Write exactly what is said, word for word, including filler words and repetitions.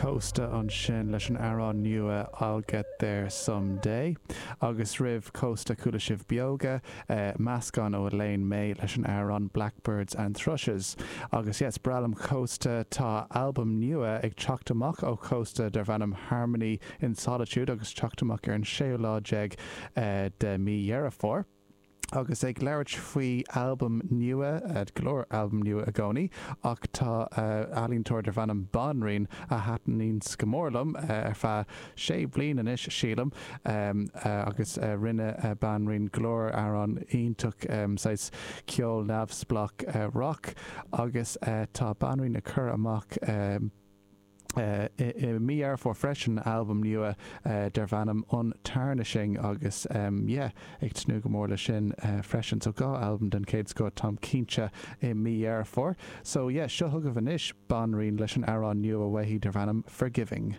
Cósta ansin leis an amhrán nua I'll Get There Someday. Agus roimh Cósta chuala sibh Beoga, eh, meascán ó Elaine Mai leis an amhrán Blackbirds and Thrushes. Agus yes, breá liom Cósta tá albam nua ag teacht amach ó Cósta darb ainm Harmony in Solitude agus teacht amach ar an séú lá déag eh, de mí Dheireadh Fómhair. Agus ag labhairt faoi albam nua go leor albam nua i gcónaí ach tá ealaíontóir darb ainm Banríon a thaitníonn go mór liom ar feadh sé bliana anois sílim agus rinne Banríon go leor amhrán iontach saghas ceol neamhspleách rock agus tá Banríon ag cur amach i mí Dheireadh Fómhair freisin albam nua darb ainm Untarnishing agus yeah, ag tnúth go mór le sin freisin, so dhá albam den chéad scoth táim cinnte i mí Dheireadh Fómhair. So yeah, seo chugaibh anois Banríon leis an amhrán nua uaithi darb ainm Forgiving.